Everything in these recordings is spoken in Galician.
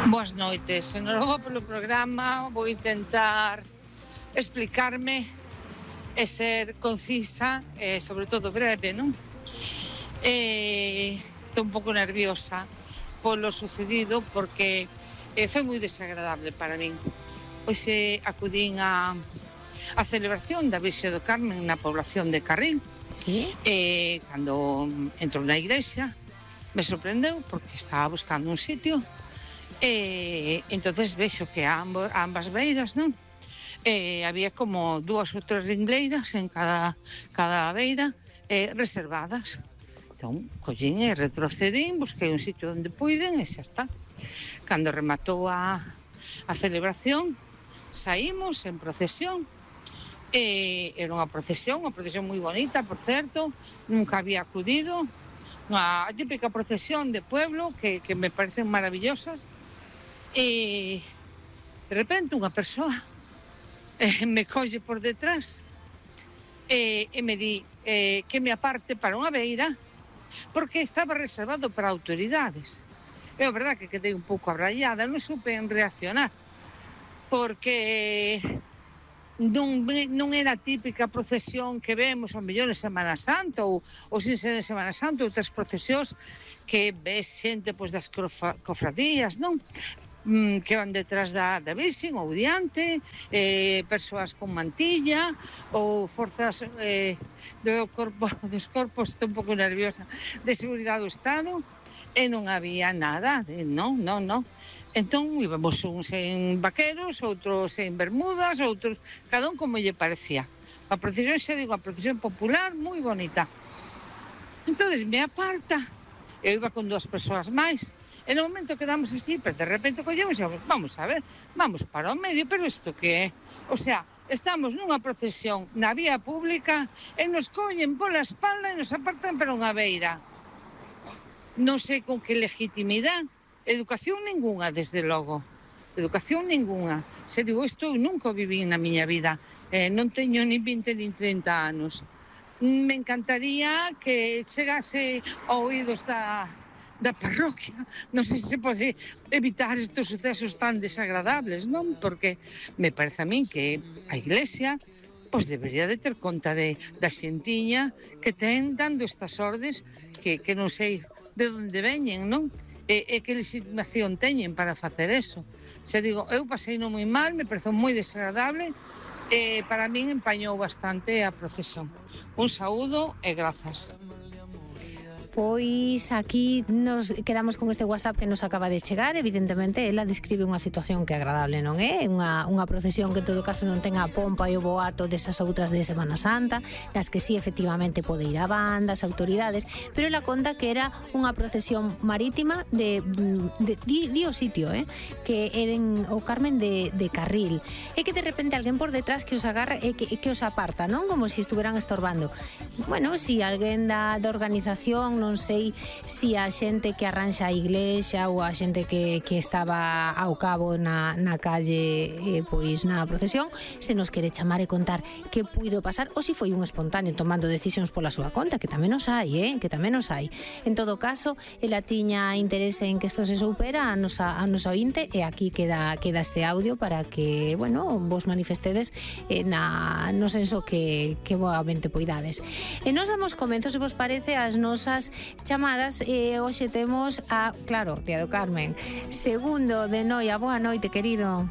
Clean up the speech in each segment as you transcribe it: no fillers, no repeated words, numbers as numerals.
Boas noites, enhorabuena polo programa. Vou intentar explicarme e ser concisa e sobre todo breve, non? Estou un pouco nerviosa polo sucedido porque foi moi desagradable para min. Hoxe acudín a celebración da Virxe do Carmen na población de Carril. Sí. Cando entro na igrexa me sorprendeu porque estaba buscando un sitio entonces vexo que a ambas beiras, non? Había como 2 ou 3 ringleiras en cada beira reservadas. Entón, collín e retrocedín, busquei un sitio onde puiden e xa está. Cando rematou a celebración, saímos en procesión. Era unha procesión moi bonita, por certo, nunca había acudido. Unha típica procesión de pueblo que me parecen maravillosas. De repente unha persoa me colle por detrás e me di que me aparte para unha beira porque estaba reservado para autoridades. É a verdade que quedei un pouco abraiada, non supe reaccionar porque non era a típica procesión que vemos ao mellor en Semana Santa ou sin ser en Semana Santa, outras procesións que ves xente pois das cofradías, non? Que van detrás da Virxen ou diante, persoas con mantilla ou forzas dos corpos, estou un pouco nerviosa, de seguridade do Estado, e non había nada, non. Entón íbamos uns en vaqueros, outros en bermudas, outros, cada un como lle parecía. A procesión, xa digo, a procesión popular moi bonita. Entonces me aparta, eu iba con 2 persoas máis. En un momento quedamos así, pero de repente collemos e vamos a ver, vamos para o medio, pero isto que é? O sea, estamos nunha procesión na vía pública e nos collen pola espalda e nos apartan para unha beira. Non sei con que legitimidade, educación ningunha, desde logo. Educación ningunha. Se digo, isto nunca o viví na miña vida, non teño nin 20 nin 30 anos. Me encantaría que chegase a oídos da parroquia, non sei se pode evitar estes sucesos tan desagradables, non? Porque me parece a min que a Iglesia pois debería de ter conta da xentiña que ten dando estas ordes que non sei de onde veñen, non? E que legitimación teñen para facer eso. Se digo, eu pasei non moi mal, me pareceu moi desagradable e para min empañou bastante a procesión. Un saúdo e grazas. Pois aquí nos quedamos con este WhatsApp que nos acaba de chegar. Evidentemente, ela describe unha situación que agradable non é, unha procesión que en todo caso non ten a pompa e o boato desas outras de Semana Santa, nas que sí efectivamente pode ir a bandas, autoridades, pero ela conta que era unha procesión marítima de o sitio, que eren o Carmen de Carril, e que de repente alguén por detrás que os agarra e que os aparta, non? Como se estuveran estorbando. Bueno, si alguén da organización, non sei se a xente que arranxa a iglesia ou a xente que estaba ao cabo na calle, pois na procesión, se nos quere chamar e contar que puido pasar ou se foi un espontáneo tomando decisións pola súa conta, que tamén os hai, que tamén os hai. En todo caso, ela tiña interese en que isto se soupera a nosa ointe, e aquí queda este audio para que, bueno, vos manifestedes no senso que boamente poidades. E nos damos comenzos, se vos parece, as nosas chamadas, e hoxe temos a, claro, Tía do Carmen. Segundo de Noia, boa noite, querido.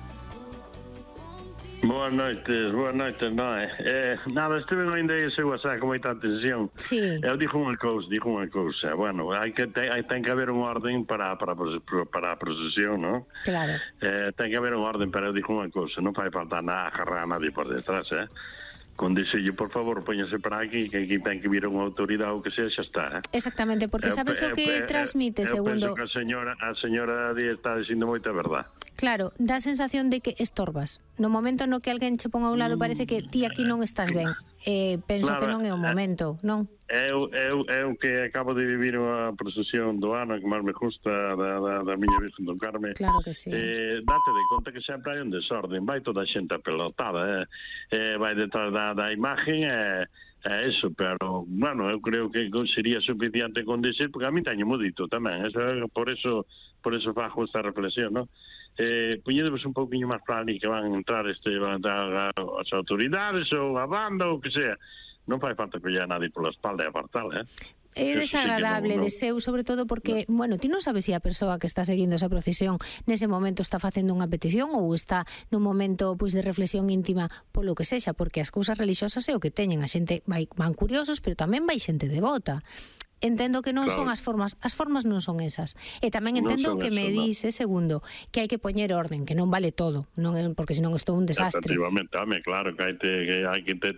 Boas noites, non é? Nada, estive ainda aí ese WhatsApp con moita atención. Sí. Eu dixo unha cousa. Bueno, ten que haber unha orden para a procesión, non? Claro. Ten que haber unha orden, pero eu dixo unha cousa, non fai falta agarrar a nadie por detrás, con dixelle, por favor, póñase para aquí, que aquí ten que vir unha autoridade ou que sea, xa está, Exactamente, porque sabes o que transmite, segundo... Eu penso que a señora está dicindo moita verdade. Claro, dá a sensación de que estorbas. No momento no que alguén che pon a un lado, parece que ti aquí non estás ben. Penso que non é o momento, non? Eu que acabo de vivir unha procesión do ano que máis me gusta da miña Virgen do Carme. Claro que sí. Date de conta que sempre hai un desorden, vai toda a xente apelotada, vai detrás da imagen, eso, pero, bueno, eu creo que sería suficiente con decir, porque a mí teño modito tamén, por eso por eso fago esta reflexión, non? Poñedemos un pouquinho máis para ali que van entrar as autoridades ou a banda ou que sea. Non fai falta que lle a nadie pola espalda e apartala, É desagradable, deseu, sobre todo porque, bueno, ti non sabes se a persoa que está seguindo esa procesión nese momento está facendo unha petición ou está nun momento pois de reflexión íntima polo que sexa, porque as cousas religiosas é o que teñen, a xente van curiosos, pero tamén vai xente devota. Entendo que non son as formas non son esas. E tamén entendo que me dice, segundo, que hai que poñer orden, que non vale todo, non porque senón isto é un desastre. Efectivamente, claro que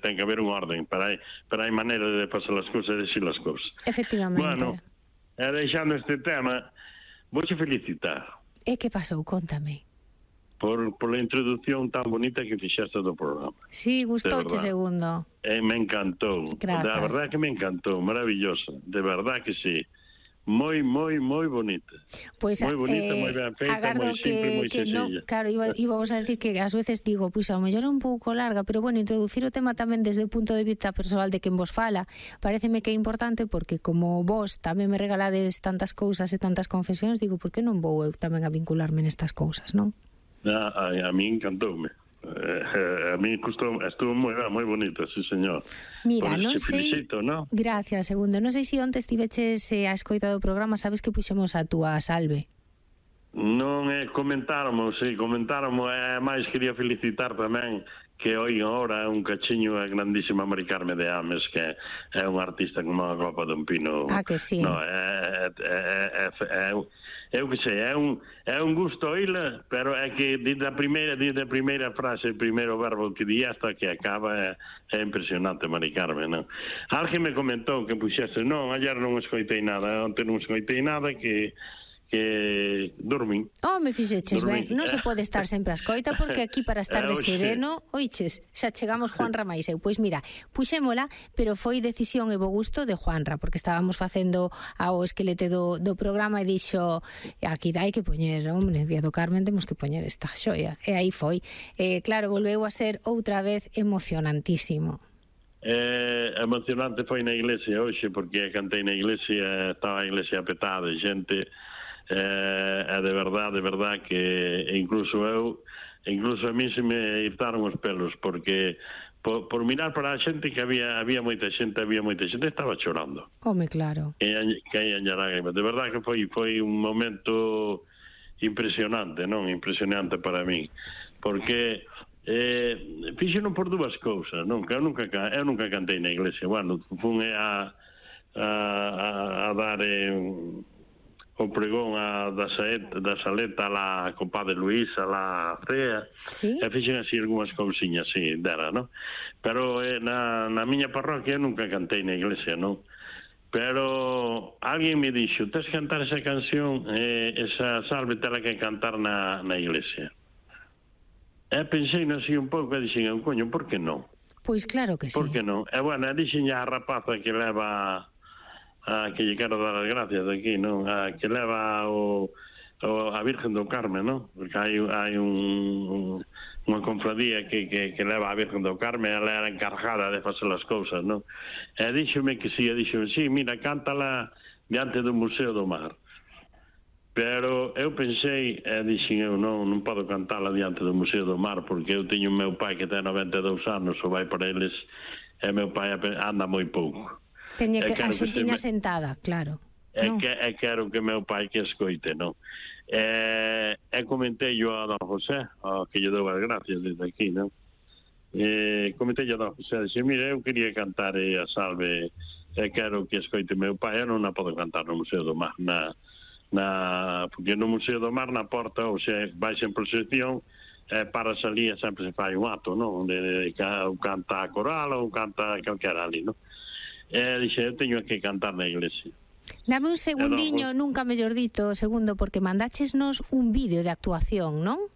ten que haber un orden, pero hai maneira de pasar as cousas e decir as cousas. Efectivamente. Bueno, deixando este tema, vouche felicitar. E que pasou? Contame. Por la introducción tan bonita que fixaste do programa. Sí, gustouche, segundo. Me encantou. Grazas. De verdad que me encantou, maravillosa. De verdad que sí. Moi bonita. Pois moi bonita, moi ben feita, moi simple, moi sencilla. Claro, íbamos a decir que ás veces digo, pois ao mellor é un pouco larga, pero bueno, introducir o tema tamén desde o punto de vista persoal de quen vos fala, pareceme que é importante porque como vos tamén me regalades tantas cousas e tantas confesións, digo, por que non vou eu tamén a vincularme nestas cousas, non? A mí encantoume. A mí estuvo moi bonito, sí, señor. Mira, non sei... Felicito, ¿no? Gracias, segundo. Non sei se onte estiveches a escoita do programa, sabes que puxemos a túa salve. Non, comentáramos, máis quería felicitar tamén que hoy agora un cachiño a grandísima Mari Carme de Ames, que é un artista como a copa dun pino. Que sí. No, eu que sei, é un gusto oíla, pero é que desde a primeira frase, o primeiro verbo que di hasta que acaba é impresionante, Mari Carme, non? Alguén me comentou que puxese, non, ayer non escoitei nada, onte non escoitei nada, que dormín. Me fixeches ben, non se pode estar sempre a escoita porque aquí para estar de sereno, oiches, xa chegamos Juanra máis eu. Pois mira, puxémola, pero foi decisión e bo gusto de Juanra, porque estábamos facendo ao esquelete do programa e dixo, aquí hai que poñer, hombre, Día do Carmen temos que poñer esta xoia. E aí foi. Claro, volveu a ser outra vez emocionantísimo. Emocionante foi na iglesia hoxe, porque cantei na iglesia, estaba a iglesia apetada de xente. É de verdad que incluso a mí se me irtaron os pelos, porque por mirar para a xente que había moita xente estaba chorando. Claro. Que hai lágrimas. De verdad que foi un momento impresionante, non? Impresionante para mí, porque fixeron por dúas cousas, non? Que eu nunca cantei na iglesia. Bueno, fun a dar o pregón da Saleta a compadre Luís, a la Frea, ¿sí? E fixen así algunhas cousiñas, sí, dera, non? Pero na miña parroquia nunca cantei na iglesia, non? Pero alguén me dixo, tens que cantar esa canción, esa salve tela que cantar na iglesia. E pensei así un pouco e dixen, coño, por que non? Pois claro que sí. Por que non? E bueno, dixen a rapaza que leva... que lle quero dar as gracias aquí, non? Que leva a Virgen do Carme, non? Porque hai unha confradía que leva a Virgen do Carme, ela era encargada de facer as cousas, non? E díxome que sí, sí, mira, cántala diante do Museo do Mar. Pero eu pensei, dixen eu, non podo cantala diante do Museo do Mar, porque eu teño o meu pai que ten 92 anos, ou vai para eles, e meu pai anda moi pouco. Teña que a xentiña sentada, claro. Quero que meu pai que escoite, non? E comentei yo a don José, que lle dou as gracias desde aquí, non? Comentei yo a don José, dixe, mira, eu quería cantar a salve, quero que escoite meu pai, eu non a podo cantar no Museo do Mar, porque no Museo do Mar, na porta, ou se vai en procesión, para salir sempre se fai un acto, non? Ou canta a coral ou canta calquera ali, non? Dixe, eu teño que cantar na iglesia. Dame un segundiño, nunca mellor dito, segundo, porque mandáchesnos un vídeo de actuación, non?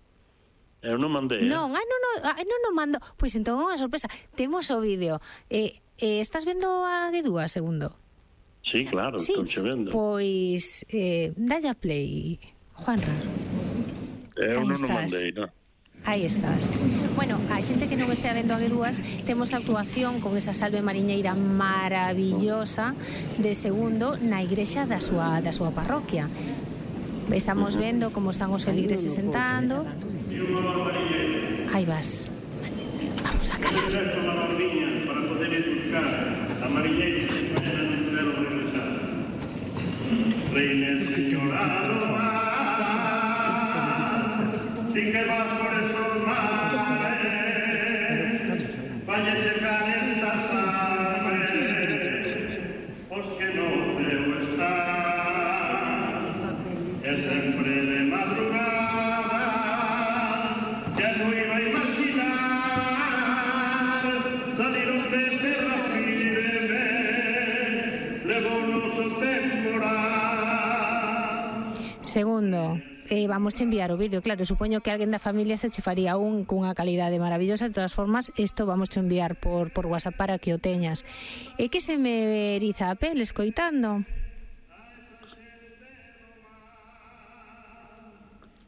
Eu non mandei. Non, non mando. Pois entón é unha sorpresa. Temos o vídeo. Estás vendo a Guedúa, segundo? Sí, claro, sí, estou vendo. Pois, dalle a play, Juanra. Eu non o mandei, non? Aí estás. Bueno, a xente que non estea vendo a Guedúas, temos a actuación con esa salve mariñeira maravillosa de segundo na igrexa da súa parroquia. Estamos vendo como están os feligreses sentando. Aí vas. Vamos a calar. Para poder ir buscar a mariñeira que mañana non puderon regresar. Reina señora do mar, ti que vas por esos mares, vaya checar estas aves, os que no debo estar, e sempre de madrugada, que non iba a imaginar, saliron de terra firme, levounos o temporal. Segundo, vamos a enviar o vídeo, claro, supoño que alguén da familia se che faría cunha calidade maravillosa. De todas formas, isto vamos a enviar por WhatsApp para que o teñas. É que se me eriza a pel escoitando.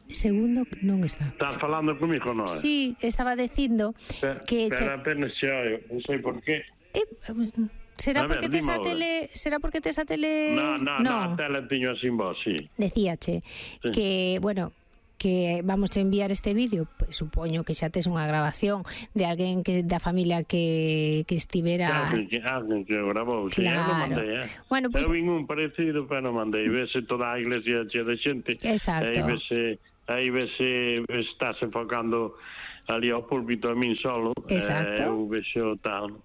Segundo, non está. Estás falando comigo, non? Sí, estaba dicindo que... Pero apenas se oio, non sei por qué. Será A ver, porque tes a dime agora. tele... Será porque tes a tele... No, a tele tiño así voz, sí. Decíache Sí. que, bueno, que vamos a enviar este vídeo, pues, supoño que xa tes unha grabación de alguén que da familia que estivera... Alguén que grabou, sí, eu non mandei, Bueno, pues... Eu vin un parecido, pero non mandei. Vese toda a iglesia chea de xente. Exacto. Aí vese estás enfocando ali ao púlpito a min solo. Exacto. Eu vexo tal.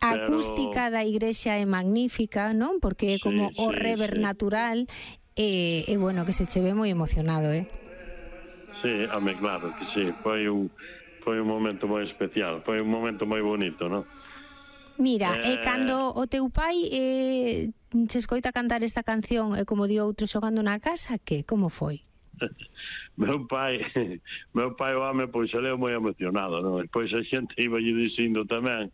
A acústica da igrexa é magnífica, non? Porque é como o rever natural e bueno, que se che ve moi emocionado, Sí, home, claro que sí. Foi un momento moi especial, foi un momento moi bonito, non? Mira, cando o teu pai che escoita cantar esta canción e como di outro xogando na casa, que? Como foi? Meu pai, o home, pois, se leu moi emocionado, non? Pois a xente iba lle dicindo tamén,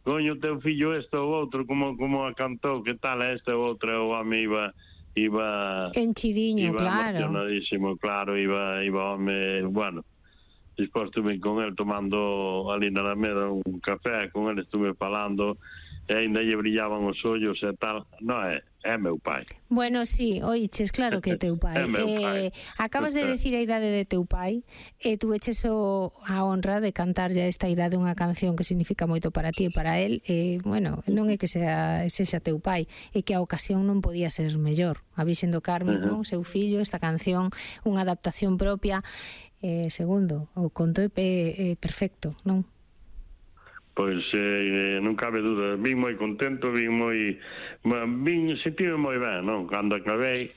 coño, teu fillo este ou outro, como a cantou, que tal este ou outro, o home iba enchidiño, claro. Emocionadísimo, claro, iba home, bueno, despois estuve con el tomando ali na Alameda un café, con el estuve falando, e ainda lle brillaban os ollos e tal. Non é meu pai. Bueno, sí, oiches, claro que é teu pai. Acabas de decir a idade de teu pai e tu eches a honra de cantarlle a esta idade unha canción que significa moito para ti e para él. Bueno, non é que sexa teu pai, é que a ocasión non podía ser mellor. A Virxen do Carme, non? Seu fillo, esta canción, unha adaptación propia. Segundo, o conto é perfecto, non? Pois non cabe dúda, vin moi contento, sentime moi ben, non? Cando acabei,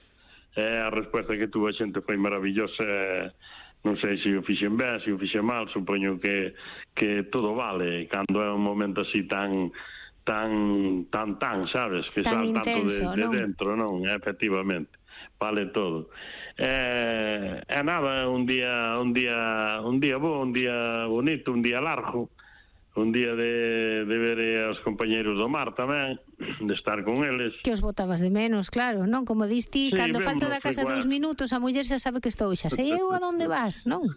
a resposta que tuvo a xente foi maravillosa. Non sei se o fixen ben, se o fixen mal, supoño que todo vale cando é un momento así tan, sabes, que tan sal intenso, tanto de dentro, non? Efectivamente, vale todo. Nada, un día bo, un día bonito, un día largo, un día de ver aos compañeiros do mar tamén, de estar con eles. Que os botabas de menos, claro, non? Como diste, sí, cando falto da casa 2 minutos, a muller xa sabe que estou, xa sei eu a onde vas, non?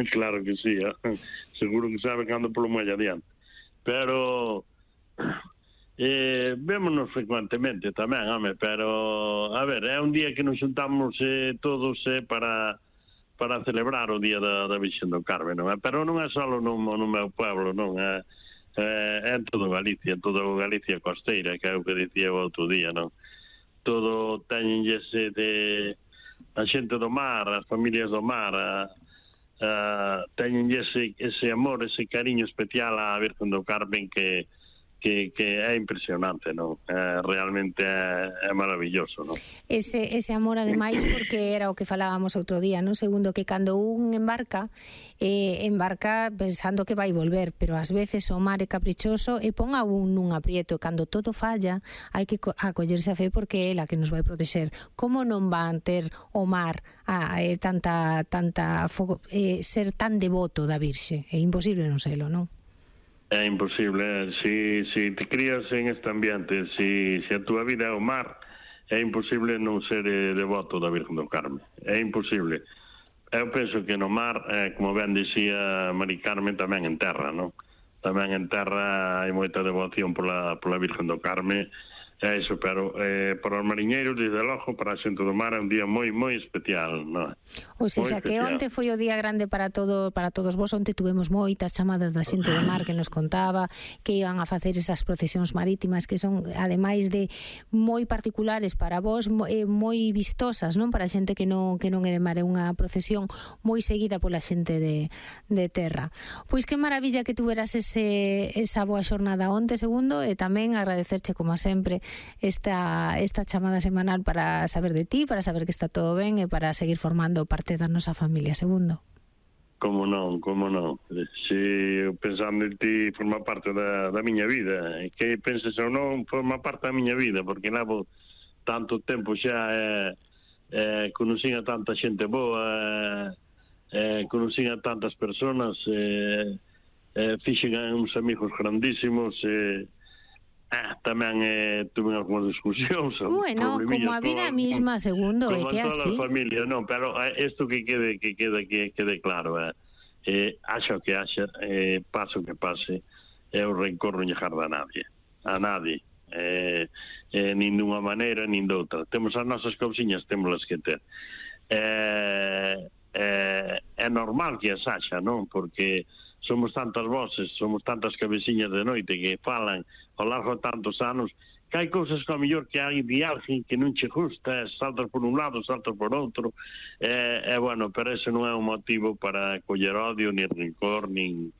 Claro que sí, seguro que sabe que ando polo moi adiante. Pero vémonos frecuentemente tamén, home, pero a ver, é un día que nos xuntamos todos para celebrar o día da Virxen do Carme, non é? Pero non é só no meu pueblo, non é? É en toda Galicia costeira, que é o que dicía o outro día, non? Todo teñenlle a xente do mar, as familias do mar, teñenlle ese amor, ese cariño especial á Virxen do Carmen que é impresionante, non? Realmente é maravilloso, non? Ese amor, ademais, porque era o que falábamos outro día, non? Segundo, que cando un embarca pensando que vai volver, pero ás veces o mar é caprichoso e pon a un nun aprieto. Cando todo falla, hai que acollerse a fe porque é ela que nos vai protexer. Como non van ter o mar tanta ser tan devoto da Virxe? É imposible non selo, non? É imposible, si te crías en este ambiente, si a túa vida é o mar, é imposible non ser devoto da Virgen do Carme, é imposible. Eu penso que no mar, como ben dicía Mari Carmen, tamén en terra, non? Tamén en terra hai moita devoción pola Virgen do Carme, É iso, pero para os mariñeiros, desde logo, para a xente do mar é un día moi, moi especial, non? Ou seja, que onte foi o día grande para todos vos. Onte tuvemos moitas chamadas da xente do mar que nos contaba que iban a facer esas procesións marítimas que son, ademais de moi particulares para vos, moi vistosas, non? Para a xente que non é de mar, é unha procesión moi seguida pola xente de terra. Pois que maravilla que tuveras esa boa xornada onte, Segundo, e tamén agradecerche, como sempre, esta chamada semanal para saber de ti, para saber que está todo ben e para seguir formando parte da nosa familia, Segundo. Como non. Se pensando en ti forma parte da miña vida, que penses ou non, forma parte da miña vida, porque levo tanto tempo xa, conocín a tanta xente boa, conocín a tantas personas, fixen uns amigos grandísimos, tamén tuve algunhas discusións. Bueno, como a vida mesma, Segundo, é que así. Como toda a familia, non, pero isto que quede claro, haxa o que haxa, pase o que pase, eu rencor non llegar a nadie, nin dunha maneira, nin doutra. Temos as nosas cousiñas, témolas que ter. É normal que as haxa, non? Porque somos tantas voces, somos tantas cabeciñas de noite que falan ao largo de tantos anos, que hai cousas que ao mellor que hai de alguén que non che gusta, saltas por un lado, saltas por outro, bueno, pero ese non é un motivo para coller odio, nin rencor, nin